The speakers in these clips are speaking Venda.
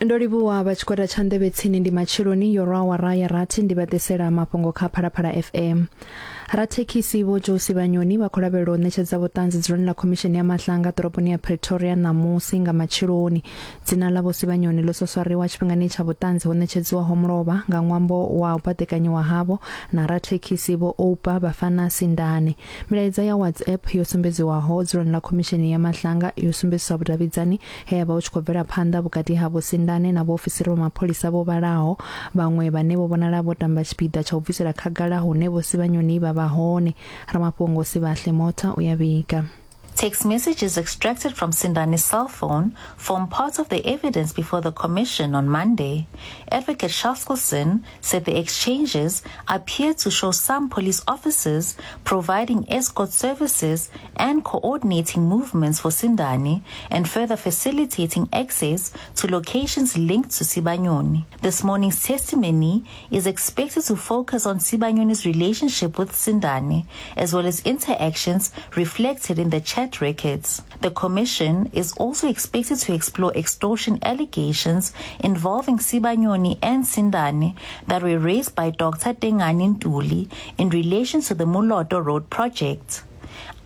Ndo livhuwa vha tshigwada tsha nḓevhe tsini ndi matsheloni yo rwa awara ya rathi ndi vha ḓisela mafhungo kha Phalaphala FM. Rathekhisi Vho Joe Sibanyoni vha khou lavhelelwa u ṋetshedza vhuṱanzi dzuloni ḽa khomishini ya Mahlanga ḓoroboni ya Pretoria ṋamusi nga matsheloni. Dzina ḽa Vho Sibanyoni ḽo soswariwa tshifhingani tsha vhuṱanzi ho ṋetshedziwaho mulovha nga ṅwambo wa u baḓekanyiwa havho na rathekhisi Vho Oupa Bafana Sindane. Milaedza ya WhatsApp yo sumbedziwaho dzuloni ḽa khomishini ya Mahlanga yo sumbedzisa vhudavhidzani he ha vha hu tshi khou bvela phanḓa vhukati ha Vho Sindane na vhaofisiri vha mapholisa vho vhalaho, vhaṅwe vhane vho vhonala vho tamba tshipiḓa tsha u bvisela khagala hune Vho Sibanyoni vha vha hone. Ramafhungo Sibahle Motha u ya vhiga. Text messages extracted from Sindani's cell phone form part of the evidence before the commission on Monday. Advocate Chaskalson said the exchanges appear to show some police officers providing escort services and coordinating movements for Sindani and further facilitating access to locations linked to Sibanyoni. This morning's testimony is expected to focus on Sibanyoni's relationship with Sindani, as well as interactions reflected in the chat records. The commission is also expected to explore extortion allegations involving Sibanyoni and Sindani that were raised by Dr. Tengani Ntuli in relation to the Muloto Road project.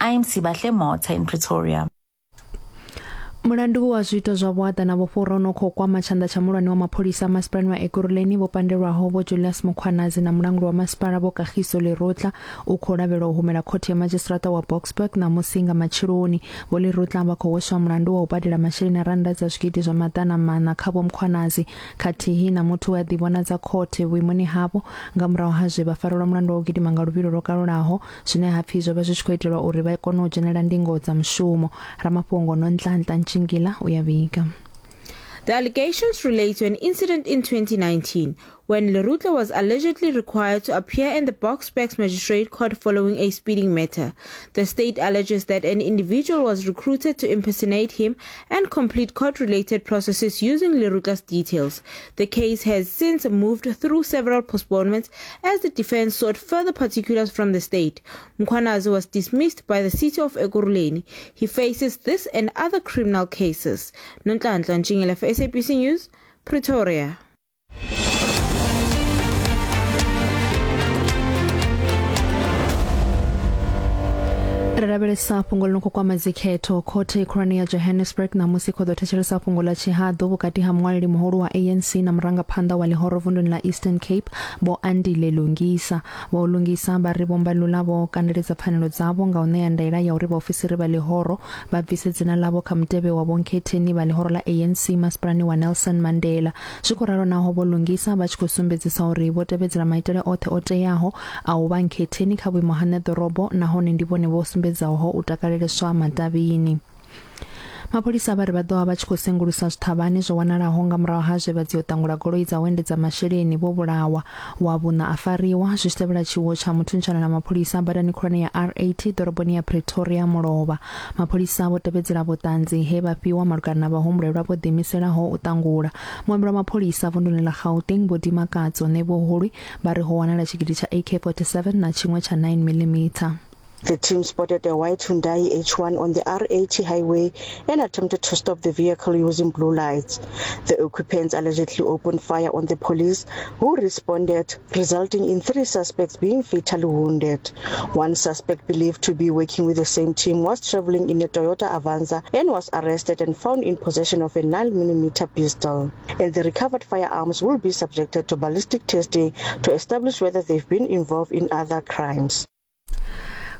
I'm Sibahle Mota in Pretoria. Mulandu wa zwiito zwa vhuaḓa na vhufhura u no khou kwama tshanḓa tsha muhulwane wa mapholisa masipalani wa Ekurhuleni vho pandelwaho Vho Julius Mkhwanazi na mulanguli wa masipala Vho Kagiso Lerutla u khou lavhelwa u humela khothe ya madzhisiṱiraṱa wa Boksburg ṋamusi nga matsheloni. Vho Lerutla vha khou hweswa mulandu wa u badela masheleni a rannda dza zwigidi zwa maḓana maṋa kha Vho Mkhwanazi khathihi na muthu we a ḓivhonadza khothe vhuimoni havho nga murahu ha zwe vha farelwa mulandu wa u gidima nga luvhilo lwo kalulaho zwine ha pfi zwo vha zwi tshi khou itelwa uri vha kone u dzhenela ndingo dza mushumo. Ramafhungo Nonhlanhla Ntshingila u ya vhiga. The allegations relate to an incident in 2019 when Lerutla was allegedly required to appear in the Boksburg Magistrate Court following a speeding matter. The state alleges that an individual was recruited to impersonate him and complete court-related processes using Lerutla's details. The case has since moved through several postponements as the defense sought further particulars from the state. Mkhwanazi was dismissed by the city of Ekurhuleni. He faces this and other criminal cases. Nonhlanhla Ntshingila for SABC News, Pretoria. Ri lavhelesa fhungo ḽi no khou kwama dzikhetho. Khothe khulwane ya Johannesburg ṋamusi khou ḓo thetshelesa fhungo ḽa tshihaḓu vhukati ha muṅwaleli muhulu wa ANC na murangaphanḓa wa ḽihoro vunduni ḽa Eastern Cape Vho Andile Lungisa. Vho Lungisa vha ri Vho Mbalula vho kandeledza pfanelo dzavho nga u ṋea ndaela ya uri vhaofisiri vha ḽihoro vha bvise dzina ḽavho kha mutevhe wa vhonkhetheni vha ḽihoro ḽa ANC masipalani wa Nelson Mandela. Zwi khou ralo naho Vho Lungisa vha tshi khou sumbedzisa uri vho tevhedzela maitele oṱhe o teaho a u vha nkhetheni kha vhuimo ha ṋeḓorobo nahone ndi vhone vho sumbedzaho u takaleleswa matavhini. Mapholisa vha ri vha ḓo vha vha tshi khou sengulusa zwiṱhavhane zwo wanalaho nga murahu ha zwe vha dzi u ṱangula goloi dza u endedza masheleni vho vhulawa. Wa vhuṋa a fariwa zwi tshi tevhela tshiwo tsha muthuntshano na mapholisa badani khulwane ya R80 ḓoroboni ya Pretoria mulovha. Mapholisa vho tevhedzela vhuṱanzi he vha fhiwa malugana na vhahumbulelwa vho ḓiimiselaho u ṱangula. Muambeli wa mapholisa vunduni ḽa Gauteng Vho Dimakatso Ṋevhohulwi vha ri ho wanala tshigidi tsha AK-47 na tshiṅwe tsha 9mm. The team spotted a white Hyundai H1 on the R80 highway and attempted to stop the vehicle using blue lights. The occupants allegedly opened fire on the police, who responded, resulting in three suspects being fatally wounded. One suspect believed to be working with the same team was traveling in a Toyota Avanza and was arrested and found in possession of a 9mm pistol. And the recovered firearms will be subjected to ballistic testing to establish whether they've been involved in other crimes.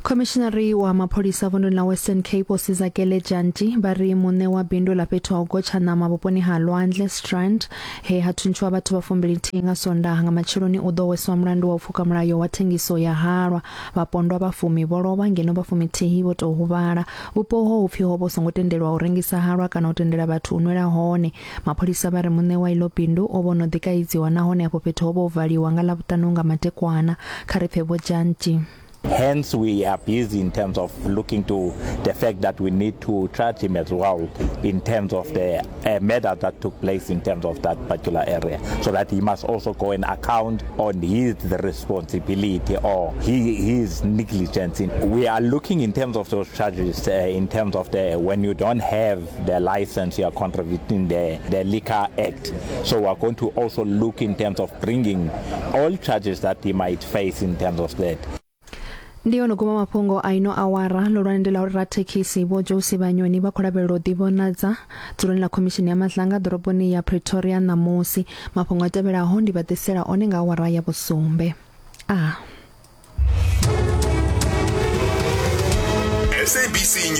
Khomishinari wa mapholisa vunduni ḽa Western Cape Vho Sizakele Dyantyi vha ri muṋe wa bindu ḽa fhethu ha u gotsha ṋama vhuponi ha Lwandle Strand he ha thuntshiwa vhathu vha fumbilinthihi nga Sondaha nga matsheloni u ḓo hweswa mulandu wa u pfuka mulayo wa thengiso ya halwa. Vhapondwa vha fumi vho lovha ngeno vha fumithihi vho tou huvhala. Vhupo uho hu pfi ho vha hu songo tendelwa u rengisa halwa kana u tendela vhathu u nwela hone. Mapholisa vha ri muṋe wa iḽo bindu o vha o no ḓi kaidziwa nahone afho fhethu ho vha ho valiwa nga Ḽavhuṱanu nga madekwana. Kha ri pfe Vho Dyantyi. Hence, we are busy in terms of looking to the fact that we need to charge him as well in terms of the uh, murder that took place in terms of that particular area, so that he must also go and account on his responsibility or he, his negligence. In, we are looking in terms of those charges, uh, in terms of the when you don't have the license, you are contravening the, the Liquor Act. So we are going to also look in terms of bringing all charges that he might face in terms of that. Ndi yo no guma mafhungo a ino awara ḽihulwane ndi ḽa uri rathekhisi Vho Joe Sibanyoni vha khou lavhelelwa u ḓivhonadza dzuloni ḽa khomishini ya Madlanga ḓoroboni ya Pretoria ṋamusi. Mafhungo a tevhelaho ndi vha ḓisela one nga awara ya vhusumbe. A. SABC News.